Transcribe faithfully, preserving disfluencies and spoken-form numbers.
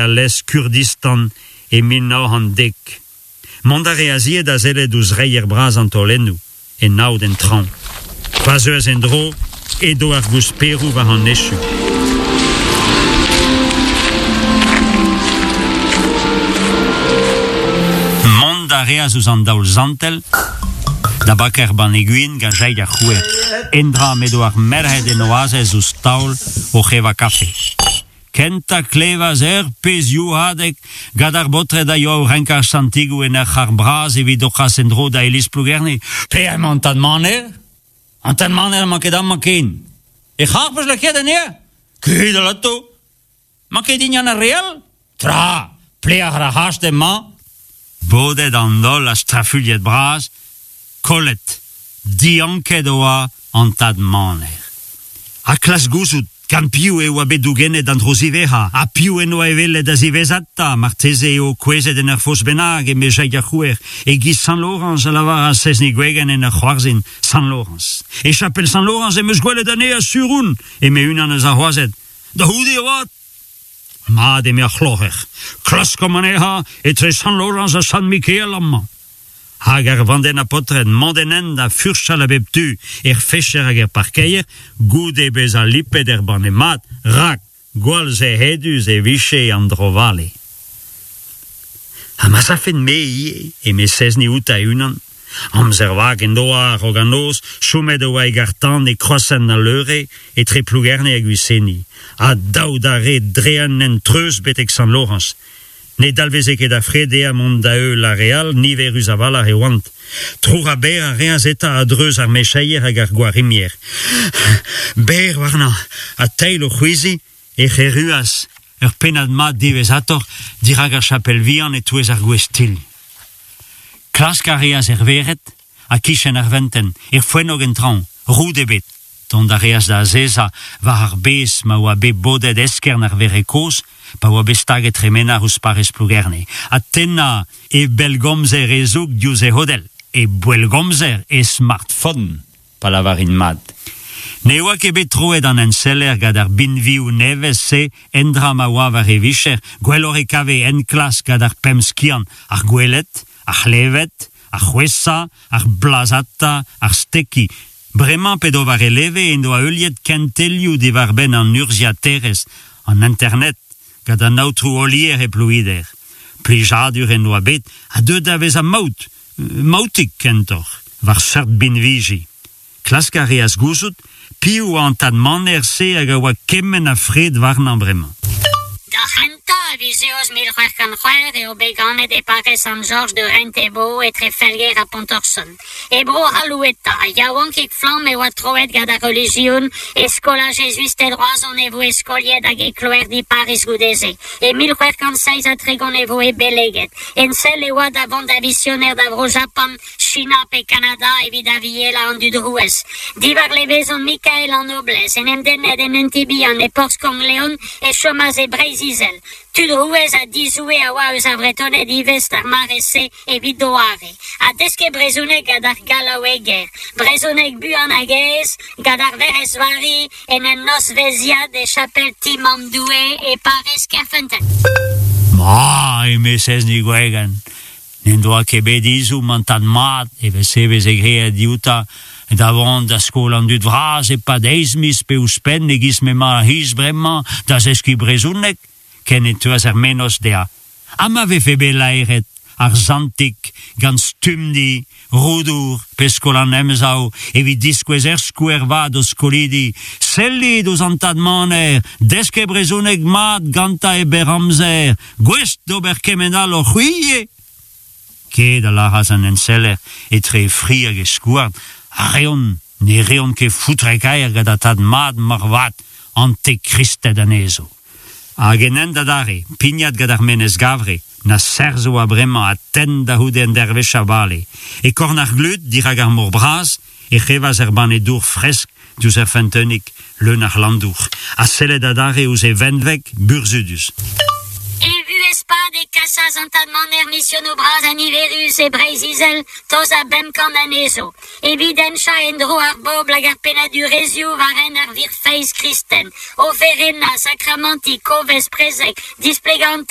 Al lez Kurdistan e mil nav c'hant dek. Mont a reas ivez da sellet ouzh reier bras an taolennoù, en aod en traoñ. Pa zeuas en-dro, edo ar gousperoù war an echu. Mont a reas ouzh an daol zantel, da bakañ ar banne gwin gant Jaig ar C'houer, endra m'edo ar merc'hed en o azez ouzh taol oc'h evañ kafe. Kentañ klevas ur pezh youc'hadeg gant ar baotred a yoa o renkañ ar santigoù en ur c'harr bras evit o c'has en-dro da iliz Plougerne. Pelec'h emañ an tad Maner? An tad Maner n'emañ ket amañ ken. E c'harr 'peus lakaet anezhañ? Ket alato. Mañ ket hini ar re all? Tra, pelec'h ar c'hast emañ? Bodet an holl ha strafuilhet bras, kollet, dianket oa an tad Maner. Ha klask gouzout gant piv e oa bet dougennet an dro ziwezhañ, ha piv en doa e welet da ziwezhatañ, marteze eo kouezhet en ur foz bennak, eme Jaig ar C'houer, e-giz Sant Laorañs a lavaras Sezni Gwegen en ur c'hoarzhin, Sant Laorañs. E chapel Sant Laorañs em eus gwelet anezhañ sur on, eme unan eus ar wazed. Da c'houde avat! Mat, eme ar c'hloc'her, klaskomp anezhañ etre Sant Laorañs ha Sant Mikael amañ. Hag ar vandenn a paotred mont en hent da furchal a bep tu er fecher hag er parkeier goude bezañ lipet er banne mat, rak gwall sec'hedus e vije an dro-vale. Ha ma safen-me ivez, eme Sezni outañ e-unan, amzer vak en doa a-raok an noz, chomet e oa e garr-tan e kroashent al Leure etre Plougerne hag Gwiseni, ha dav d'ar red dre un hent treuz betek Sant-Laorañs. Ne dalveze ket a fred dezhañ mont da heul ar re all, niverus a-walc'h e oant. Troc'hañ berr a reas eta a-dreuz ar mecheier hag ar gwarimier. Berr warnañ, ha teil o c'hwezhiñ, ec'h erruas ur pennad mat diwezhatoc'h dirak ar chapel vihan e-touez ar gwez tilh. Klask a reas er vered ha kichen ar ventenn, er foennog en traoñ, roud ebet. Dont a reas da azezañ war ar bez ma oa bet bodet eskern ar verc'h kozh pa oa bet staget Tremenar ouzh parrez Plougerne, ha tennañ e bellgomzer hezoug diouzh e c'hodell, e bellgomzer e smartphone, pa lavarin mat. Ne oa ket bet troet an enseller gant ar binvioù nevez-se endra ma oa war e vicher, gwelloc'h e kave enklask gant ar pemp skiant, ar gweled, ar c'hleved, ar c'hwesa, ar blazata, ar stekiñ. Bremañ p'edo war e leve en doa heuliet kentelioù diwar-benn an urzhiaterezh, an internet, gant an aotrou Olier e Plouider. Plijadur en doa bet ha deuet da vezañ maout, maoutik kentoc'h, war seurt binviji. Klask a reas gouzout piv oa an tad Maner-se hag a oa kement a fred warnañ bremañ. Da c'hentañ a viz Eost mil c'hwec'h kant c'hwec'h eo bet ganet e parrez Sant-Jorj de Rentebo etre Felger ha Pontorson. E bro C'halloueta, yaouankik flamm e oa troet gant ar relijion, e skolaj jezuisted Roazhon e voe skoliet hag e kloerdi Pariz goude-se. E mil c'hwec'h kant seizh ha tregont e voe beleget. En sell e oa da vont da visioner da vro Japan, China pe Kanada evit avielañ an dud rouez. Diwar levezon Mikael an Noblez, en em dennet en un ti bihan e porzh Konk-Leon e chomas e Breizh-Izel. Tud rouez ha dizoue a oa eus ar Vretoned ivez d'ar mare-se evit doare. Ha desket brezhoneg gant ar gallaoueger. Brezhoneg buan hag aes gant ar Werc'hez Vari en un nozvezhiad e chapel ti Mamm Doue e parrez Kerfeunteun. Ma, eme Sezni Gwegen, n'en doa ket bet ezhomm an tad mat evel-se veze graet dioutañ da vont da skol an dud vras e-pad eizh miz pe ouzhpenn e-giz m'emañ ar c'hiz bremañ da zeskiñ brezhoneg, ken e teuas ar mennozh dezhañ. Ha ma vefe bet laeret ar santig gant Stumdi, Roudour pe skol an Emsav evit diskouez er skouer vat d'o skolidi. Sellit ouzh an tad Maner, desket brezhoneg mat gantañ e berr amzer, gouest d'ober kement all oc'h c'hwi ivez. Ket a lâras an enseller etre e fri hag e skouarn, a reont, ne reont ket foutre-kaer gant an tad mat moarvat, antekristed anezho. Hag en hent adarre, pignat gant ar menez Gavre, na serzh oa bremañ ha tenn da c'houde un dervezh a vale. E korn ar glud, dirak ar mor bras, e c'hevas er banne dour fresk diouzh ar feunteunig, leun a c'hlandour, ha sellet adarre ouzh e venveg burzhudus. E vuhez pad e kasas an tad Maner misionoù bras ha niverus e Breizh-Izel, tost da bemp kant anezho. Evit henchañ en-dro ar bobl hag ar pennadurezhioù war hent ar wir feiz kristen. Oferennañ, sakramantiñ, kovez, prezeg, displegañ an